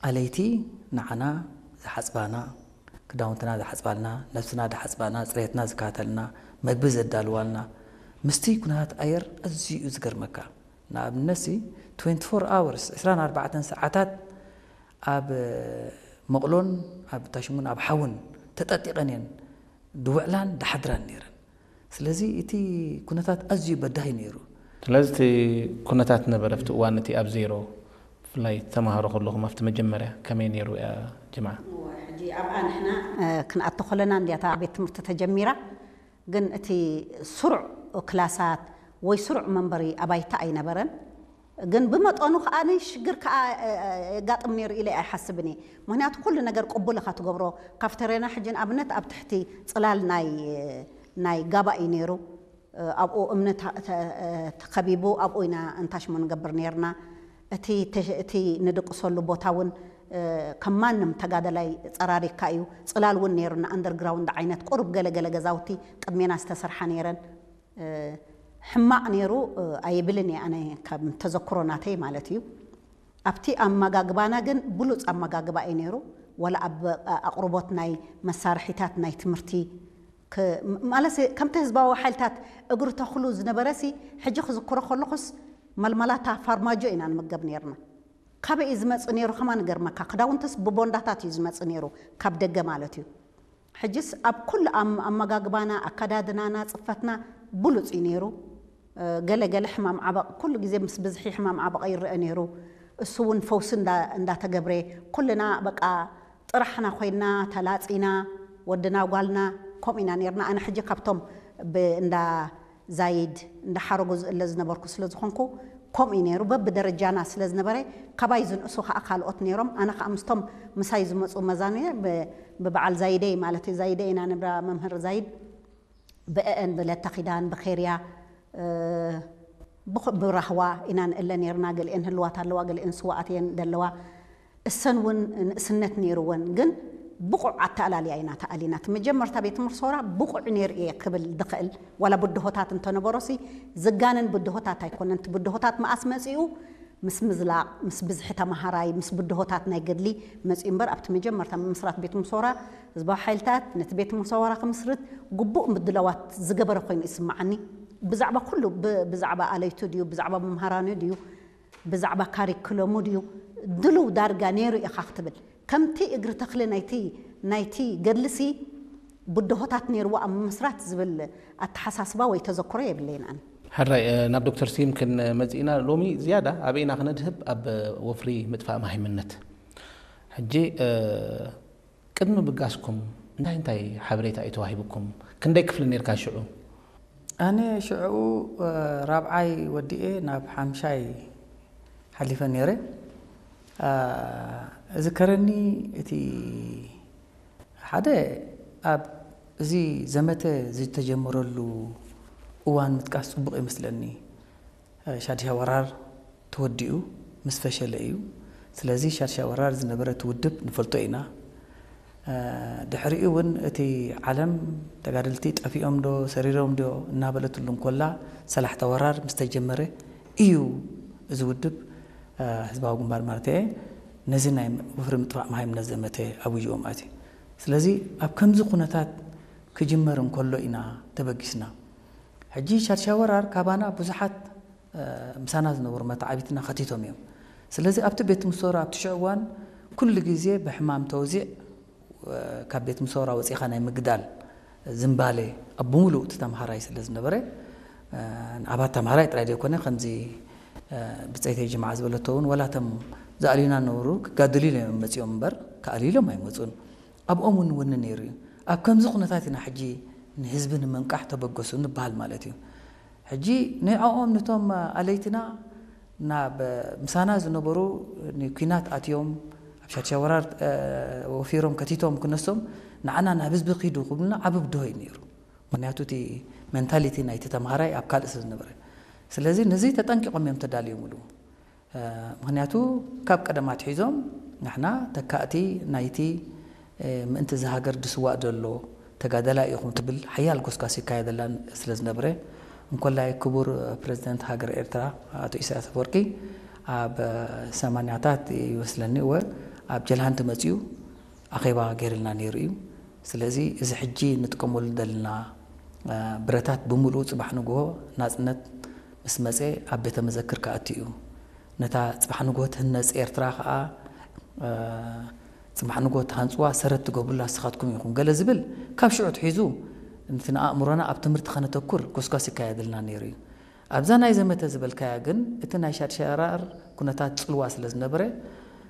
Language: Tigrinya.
ኣለይቲ ንዓና ዝሓጽባና፣ ክዳውንትና ዝሓጽባልና፣ ነብስና ዝሓጽባና፣ ጽሬትና ዝከታተልና፣ መግቢ ዘዳልዋልና፣ ምስቲ ኩነታት ኣየር ኣዝዩ እዩ ዝገርመካ። ንኣብነትሲ ትዌንቲ ፎር ኣወርስ፣ ዕስራን ኣርባዕተን ሰዓታት ኣብ መቕሎን ኣብ ታሽሙን ኣብ ሓውን ተጠጢቐን እየን ድውዕላን ድሓድራን ነይረን። ስለዚ እቲ ኩነታት ኣዝዩ በዳሂ ነይሩ። ስለዚ እቲ ኩነታት ነበረ ኣብቲ እዋን እቲ ኣብ ዜሮ፣ ብፍላይ ተማሃሮ ከለኹም ኣብቲ መጀመርያ ከመይ ነይሩ እያ ጅምዓ? እወ፣ ሕጂ ኣብኣ ንሕና፣ እ፣ ክንኣቱ ከለና እንድያ እታ ቤት ትምህርቲ ተጀሚራ። ግን እቲ ስሩዕ ክላሳት ወይ ስሩዕ መንበሪ ኣባይቲ ኣይነበረን። ግን ብመጠኑ ከኣ ሽግር ከኣ፣ እ፣ እ፣ የጋጥም ነይሩ ኢለ ኣይሓስብን እየ። ምኽንያቱ ኩሉ ነገር ቅቡል ኢኻ ትገብሮ። ካፍተርያና ሕጂ ንኣብነት ኣብ ትሕቲ ጽላል ናይ፣ ናይ ጋባ እዩ ነይሩ። እ፣ ኣብኡ እምኒ ተ-፣ ተ-፣ ተኸቢቡ ኣብኡ ኢና እንታሽሞ ንገብር ነይርና። እቲ ተ-፣ እቲ ንድቅሰሉ ቦታ እውን፣ እ፣ ከም ማንም ተጋደላይ ጸራሪግካ እዩ። ጽላል እውን ነይሩና፣ ኣንደርግራውንድ ዓይነት ቁሩብ ገለ ገለ ገዛውቲ ቅድሜና ዝተሰርሓ ነይረን። እ፣ ሕማቕ ነይሩ፣ እ፣ ኣይብልን እየ ኣነ፣ ከም ተዘክሮ ናተይ ማለት እዩ። ኣብቲ ኣመጋግባና ግን ብሉጽ ኣመጋግባ እዩ ነይሩ። ዋላ ኣብ ኣቕርቦት ናይ መሳርሒታት ናይ ትምህርቲ ክ-፣ ማለትሲ ከምቲ ህዝባዊ ሓይልታት እግሪ ተኽሉ ዝነበረሲ፣ ሕጂ ክዝክሮ ከለኹስ፣ መልመላታ ፋርማጆ ኢና ንምገብ ነይርና። ካበይ እዩ ዝመጽእ ነይሩ ከማን ይገርመካ። ክዳውንትስ ብቦንዳታት እዩ ዝመጽእ ነይሩ፣ ካብ ደገ ማለት እዩ። ሕጅስ ኣብ ኩሉ ኣም-፣ ኣመጋግባና፣ ኣከዳድናና፣ ጽፈትና ብሉጽ እዩ ነይሩ። እ፣ ገለ ገለ ሕማም ዓበቕ፣ ኩሉ ግዜ ምስ ብዝሒ ሕማም ዓበቕ ይረአ ነይሩ። እሱ እውን ፈውሲ እንዳ-፣ እንዳተገብረ፣ ኩልና በቃ ጥራሕና ኮይና፣ ተላጺና፣ ወድና ጓልና ከምኡ ኢና ነይርና። ኣነ ሕጂ ካብቶም ብ-፣ እንዳ ዛይድ እንዳሓረጉ ዝእለ ዝነበርኩ ስለ ዝኾንኩ፣ ከምኡ እዩ ነይሩ። በብደረጃና ስለ ዝነበረ፣ ካባይ ዝንእሱ ከኣ ካልኦት ነይሮም። ኣነ ከኣ ምስቶም ምሳይ ዝመጹ መዛኑ እየ፣ ብ-፣ ብበዓል ዛይደይ ማለት እዩ፣ ዛይደይ ኢና ንብላ፣ መምህር ዛይድ፣ ብእአን ብለተ ኪዳን፣ ብኼርያ፣ እ፣ ብኹ-፣ ብራህዋ ኢና ንእለ ነይርና። ገሊአን ህልዋት ኣለዋ፣ ገሊአን ስዋኣት እየን ዘለዋ። እሰን እውን ንእስነት ነይርወን፣ ግን ብቑዕ ኣተኣላልያ ኢና ተኣሊና። እቲ መጀመርታ ቤት ትምህርቲ ሰውራ ብቑዕ ነይሩ እየ ክብል ዝኽእል፣ ዋላ ብድሆታት እንተነበሮሲ፣ ዝጋነን ብድሆታት ኣይኮነን። እቲ ብድሆታት መኣስ መጺኡ? ምስ ምዝላቕ፣ ምስ ብዝሒ ተመሃራይ፣ ምስ ብድሆታት ናይ ገድሊ መጺኡ እምበር፣ ኣብቲ መጀመርታ ምምስራት ቤት ትምህርቲ ሰውራ፣ ህዝባዊ ሓይልታት ነቲ ቤት ትምህርቲ ሰውራ ክምስርት ግቡእ ምድላዋት ዝገበረ ኮይኑ ይስምዓኒ። ብዛዕባ ኩሉ፣ ብ-፣ ብዛዕባ ኣለይቱ ድዩ፣ ብዛዕባ መምሃራኑ ድዩ፣ ብዛዕባ ካሪክለሙ ድዩ ድሉው ዳርጋ ነይሩ ኢኻ ክትብል፣ ከምቲ እግሪ ተኽሊ ናይቲ፣ ናይቲ ገድልሲ ብድሆታት ነይርዎ ኣብ ምምስራት ዝብል ኣተሓሳስባ ወይ ተዘክሮ የብለይን ኣነ። ሕራይ፣ እ፣ ናብ ዶክተር ስዩም ክንመጽእ ኢና። ሎሚ ዝያዳ ኣበይና ክነድህብ? ኣብ ወፍሪ ምጥፋእ መሃይምነት። ሕጂ፣ እ፣ ቅድሚ ብጋስኩም እንታይ እንታይ ሓበሬታ እዩ ተዋሂብኩም? ክንደይ ክፍሊ ነርካ ሽዑ? ኣነ ሽዑ፣ እ፣ ራብዓይ ወዲኤ ናብ ሓምሻይ ሓሊፈ ነይረ። እ፣ እዝከረኒ እቲ ሓደ ኣብ እዚ ዘመተ ዝተጀመረሉ እዋን ምጥቃስ ጽቡቕ ይመስለኒ። ሻድሻይ ወራር ተወዲኡ ምስ ፈሸለ እዩ። ስለዚ ሻድሻይ ወራር ዝነበረ እቲ ውድብ ንፈልጦ ኢና። እ፣ ድሕሪኡ እውን እቲ ዓለም ተጋደልቲ ጠፊኦም ዶ ሰሪሮም ዶ እናበለትሉ እንኮላ፣ ሰላሕታ ወራር ምስ ተጀመረ እዩ እዚ ውድብ፣ እ፣ ህዝባዊ ግንባር ማለት እየ፣ ነዚ ናይ ወፍሪ ምጥፋእ መሃይምነት ዘመተ ኣብይዎም ኣትዩ። ስለዚ ኣብ ከምዚ ኩነታት ክጅመር እንከሎ ኢና ተበጊስና። ሕጂ ሻድሻይ ወራር ካባና ብዙሓት፣ እ፣ ምሳና ዝነበሩ መተዓቢትና ከቲቶም እዮም። ስለዚ ኣብቲ ቤት ትምህርቲ ሰውራ ኣብቲ ሽዑ እዋን ኩሉ ግዜ ብሕማም ተወዚዕ፣ እ፣ ካብ ቤት ትምህርቲ ሰውራ ወፂኻ ናይ ምግዳል ዝንባሌ ኣብ ብምሉእ እቲ ተምሃራይ ስለ ዝነበረ፣ እ፣ ንኣባት ተምሃራይ ጥራይ ዘይኮነ፣ ከምዚ፣ እ፣ ብፀይተይ ጅምዓ ዝበለቶ እውን፣ ወላ እቶም ዝኣልዩና ነበሩ ክጋደሉ ኢሎም እዮም መፂኦም እምበር ክኣልዩ ኢሎም ኣይመፁን። ኣብኦም እውን ወኒ ነይሩ እዩ። ኣብ ከምዚ ኩነታት ኢና ሕጂ ንህዝቢ ንምንቃሕ ተበገሱ ንበሃል ማለት እዩ። ሕጂ ንዕኦም፣ ነቶም ኣለይትና፣ ናብ ምሳና ዝነበሩ ንኲናት ኣትዮም፣ ኣብ ሻድሻይ ወራር፣ እ፣ ወፊሮም ከቲቶም ክነሶም፣ ንዓና ናብ ህዝቢ ኪዱ ክብሉና ዓቢ ብድሆ እዩ ነይሩ። ምኽንያቱ እቲ ሜንታሊቲ ናይቲ ተምሃራይ ኣብ ካልእ ስለ ዝነበረ። ስለዚ ነዚ ተጠንቂቖም እዮም ተዳልዮምሉ። እ፣ ምኽንያቱ ካብ ቀደም ኣትሒዞም ንሕና ተካእቲ ናይቲ፣ እ፣ ምእንቲ እዚ ሃገር ዝስዋእ ዘሎ ተጋዳላይ ኢኹም ትብል ሓያል ጎስጓስ ይካየደላ ስለ ዝነበረ፣ እንኮላይ ክቡር ፕረዚደንት ሃገር ኤርትራ ኣቶ ኢሳያስ ኣፈወርቂ ኣብ ሰማንያታት ይመስለኒ፣ እወ፣ ኣብ ጀልሃንቲ መጺኡ ኣኼባ ገይርልና ነይሩ እዩ። ስለዚ እዚ ሕጂ ንጥቀመሉ ዘለና ብረታት ብምሉኡ ጽባሕ ንግሆ ናጽነት ምስ መጸ ኣብ ቤተ መዘክር ክኣቱ እዩ። ነታ ጽባሕ ንግሆ ትህነጽ ኤርትራ ከኣ ጽባሕ ንግሆ ትሃንጽዋ ሰረት ትገብሩላ ንስኻትኩም ኢኹም ገለ ዝብል ካብ ሽዑ ትሒዙ ነቲ ንኣእምሮና ኣብ ትምህርቲ ከነተኩር ጎስጓስ ይካየደልና ነይሩ እዩ። ኣብዛ ናይ ዘመተ ዝበልካያ ግን እቲ ናይ ሻድሻራር ኩነታት ጽልዋ ስለ ዝነበረ